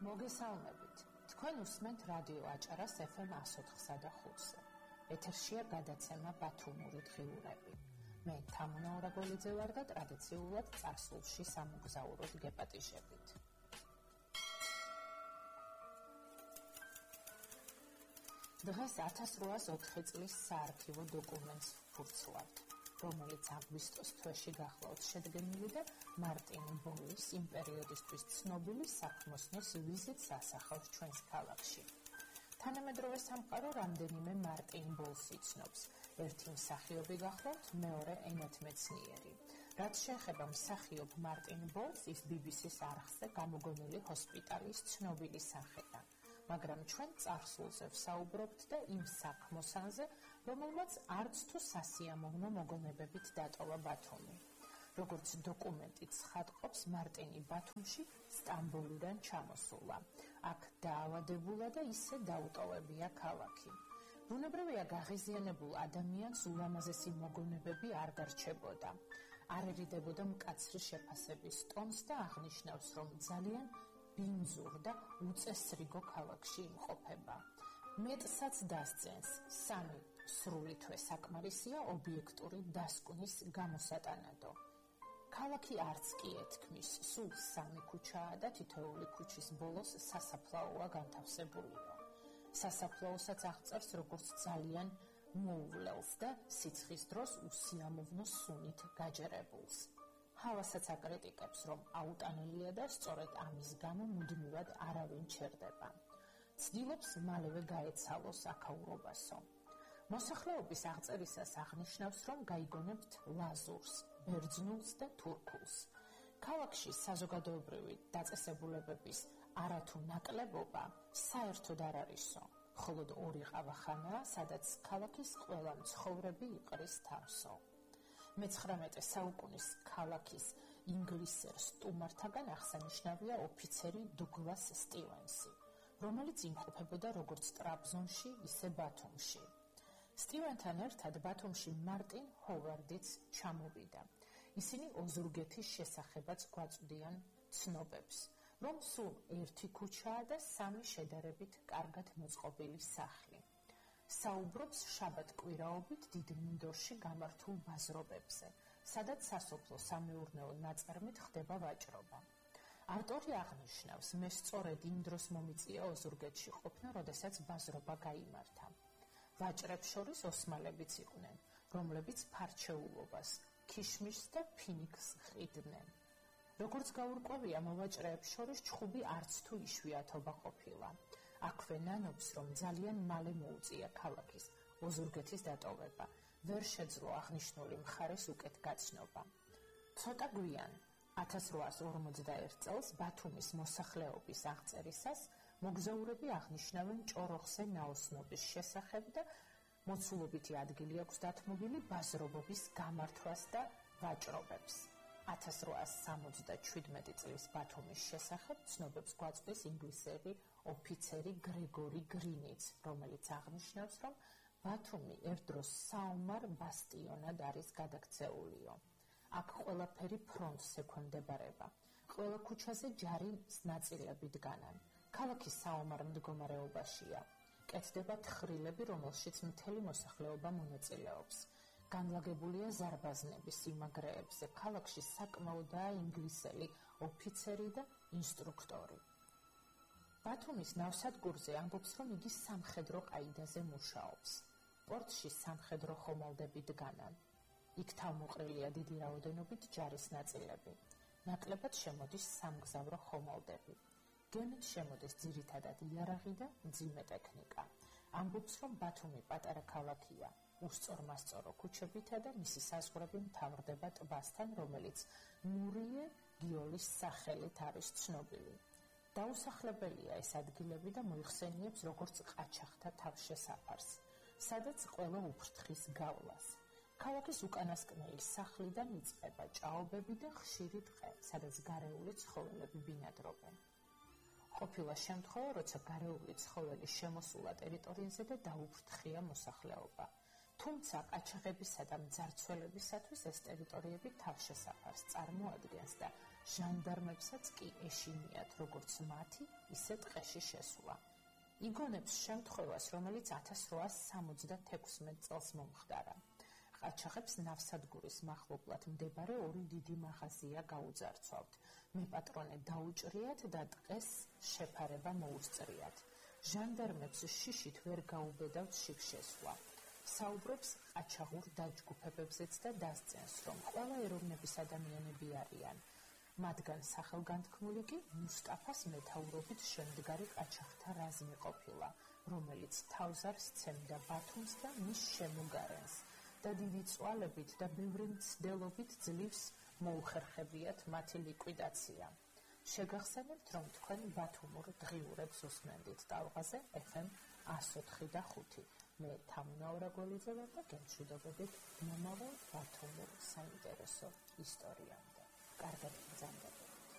მოგესალმებით. თქვენ უსმენთ რადიო აჭარას FM 104.5-ზე. ეთერშია გადაცემა ბათუმური დღიურები. მე თამუნა ორაგოლიძე ვარ და ტრადიციულად წარსულში სამოგზაუროდ გეპატიჟებით. დღეს 1804 წლის საარქივო დოკუმენტს ვფურცლავთ, რომელიც აგვისტოს თვეში გახლავთ შედგენილი და მარტინ ბოლის იმ პერიოდისთვის ცნობილი საქმოსნოს ვიზიტს ასახავს ჩვენს ქალაქში. თანამედროვე სამყარო რამდენიმე მარტინ ბოლს იცნობს. ერთი მსახიობი გახლავთ, მეორე ენათმეცნიერი. რაც შეეხება მსახიობ მარტინ ბოლს, ის BBC-ს არხზე გამოგონილი ჰოსპიტალის ცნობილი სახეა. მაგრამ ჩვენ წარსულზე ვსაუბრობთ და იმ საქმოსანზე, რომელმაც არც თუ სასიამოვნო მოგონებებით დატოვა ბათუმი. როგორც დოკუმენტი ცხადყოფს, მარტინი ბათუმში სტამბოლიდან ჩამოსულა. აქ დაავადებულა და ისე დაუტოვებია ქალაქი. ბუნებრივია, გაღიზიანებულ ადამიანს ულამაზესი მოგონებები არ დარჩებოდა. არ ერიდებოდა მკაცრი შეფასების ტონს და აღნიშნავს, რომ ძალიან ბინძურ და უწესრიგო ქალაქში იმყოფება. მეტსაც დასძენს, 3 სრული თვე საკმარისია ობიექტური დასკვნის გამოსატანადო. ქალაქი არც კი ეთქმის, სულ 3 ქუჩაა და თითოეული ქუჩის ბოლოს სასაფლაოა განთავსებულიო. სასაფლაოსაც აღწერს როგორც ძალიან მოუვლელს და სიცხის დროს უსიამოვნო სუნით გაჯერებულს. ჰავასაც აკრიტიკებს, რომ აუტანელია და სწორედ ამის გამო მუდმივად არავინ ჩერდება. ცდილობს მალევე გაეცალოს აქაურობასო. მოსახლეობის აღწერისას აღნიშნავს, რომ გაიგონებთ ლაზურს, ბერძნულს და თურქულს. ქალაქში საზოგადოებრივი დაწესებულებების არათუ ნაკლებობა საერთოდ არ არისო. მხოლოდ 2 ყავახანაა, სადაც ქალაქის ყველა მცხოვრები იყრის თავსო. მე-19 საუკუნის ქალაქის ინგლისელ სტუმართაგან აღსანიშნავია ოფიცერი დუგლას სტივენსი, რომელიც იმყოფებოდა როგორც ტრაბზონში, ისე ბათუმში. სტივენთან ერთად ბათუმში მარტინ ჰოვარდიც ჩამოვიდა. ისინი ოზურგეთის შესახებაც გვაწვდიან ცნობებს, რომ სულ 1 ქუჩაა და 3 შედარებით კარგად მოწყობილი სახლი. საუბრობს შაბათ-კვირაობით დიდ მინდორში გამართულ ბაზრობებზე, სადაც სასოფლო-სამეურნეო ნაწარმით ხდება ვაჭრობა. ავტორი აღნიშნავს, მე სწორედ იმ დროს მომიწია ოზურგეთში ყოფნა, როდესაც ბაზრობა გაიმართა. ვაჭრებს შორის ოსმალებიც იყვნენ, რომლებიც ფარჩეულობას, ქიშმიშს და ფინიკს ხიდდნენ. როგორც გაურკვევია, მოვაჭრეებს შორის ჩხუბი არც თუ იშვიათობა ყოფილა. აქვე ნანობს, რომ ძალიან მალე მოუწია ქალაქის ოზურგეთის დატოვება, ვერ შეძლო აღნიშნული მხარეს უკეთ გაცნობა. ცოტა გვიან, 1841 წელს ბათუმის მოსახლეობის აღწერისას მოგზაურები აღნიშნავენ ჭოროხზე ნაოსნობის შესახებ და მოცულობითი ადგილი აქვს დათმობილი ბაზრობობის გამართვას და ვაჭრობებს. 1877 წლის ბათუმის შესახებ ცნობებს გვაწვდის ინგლისელი ოფიცერი გრეგორი გრინიც, რომელიც აღნიშნავს, რომ ბათუმი ერთდროს საომარ ბასტიონად არის გადაქცეულიო. აქ ყველაფერი ფრონტს ექვემდებარება. ყველა ქუჩაზე ჯარის ნაწილები დგანან. ქალაქი საომარ მდგომარეობაშია. კეთდება თხრილები, რომელშიც მთელი მოსახლეობა მონაწილეობს. განლაგებულია ზარბაზნები სიმაგრეებზე. ქალაქში საკმაოდაა ინგლისელი ოფიცერი და ინსტრუქტორი. ბათუმის ნავსადგურზე ამბობს, რომ იგი სამხედრო ყაიდაზე მუშაობს. პორტში სამხედრო ხომალდები დგანან. იქ თავმოყრილია დიდი რაოდენობით ჯარის ნაწილები. ნაკლებად შემოდის სამგზავრო ხომალდები. გემით შემოდის ძირითადად იარაღი და მძიმე ტექნიკა. ამბობს, რომ ბათუმი პატარა ქალაქია. უსწორმასწორო ქუჩებითა და მისი საზღვრები მთავრდება ტბასთან, რომელიც ნურიე გიოლის სახელით არის ცნობილი. დაუსახლებელია ეს ადგილები და მოიხსენიებს როგორც ყაჩაღთა თავშესაფარს, სადაც ყველა უფრთხის გავლას. ქალაქის უკანასკნელი სახლიდან იწყება ჭაობები და ხშირი ტყე, სადაც გარეული ცხოველები ბინადრობენ. ყოფილა შემთხვევა, როცა გარეული ცხოველი შემოსულა ტერიტორიაზე და დაუფრთხია მოსახლეობა. თუმცა ყაჩაღებისა და მძარცველებისათვის ეს ტერიტორიები თავშესაფარს წარმოადგენს და ჟანდარმებსაც კი ეშინიათ როგორც მათი, ისე ტყეში შესვლა. იგონებს შემთხვევას, რომელიც 1876 წელს მომხდარა. ყაჩაღებს ნავსადგურის მახლობლად მდებარე ორი დიდი მაღაზია გაუძარცვავთ. მეპატრონე დაუჭრიათ და ტყეს შეფარება მოუსწრიათ. ჟანდარმებს შიშით ვერ გაუბედავთ შიგ შესვლა. საუბრობს ყაჩაღურ დაჯგუფებებზეც და დასწენს, რომ ყველა ეროვნების ადამიანები არიან. მათგან სახელგანთქმული კი მუსტაფას მეთაურობით შემდგარი ყაჩაღთა რაზმი ყოფილა, რომელიც თავზარს სცემდა ბათუმს და მის შემოგარენს და დიდი წვალებით და ბევრი მცდელობით ძლივს მოუხერხებიათ მათი ლიკვიდაცია. შეგახსენებთ, რომ თქვენ ბათუმურ დღიურებს უსმენდით ტალღაზე FM 104.5. მე თამუნა ორაგოლიძე ვარ და გემშვიდობებით მომავალ ბათუმურ საინტერესო ისტორიამდე. კარგად ბრძანდება.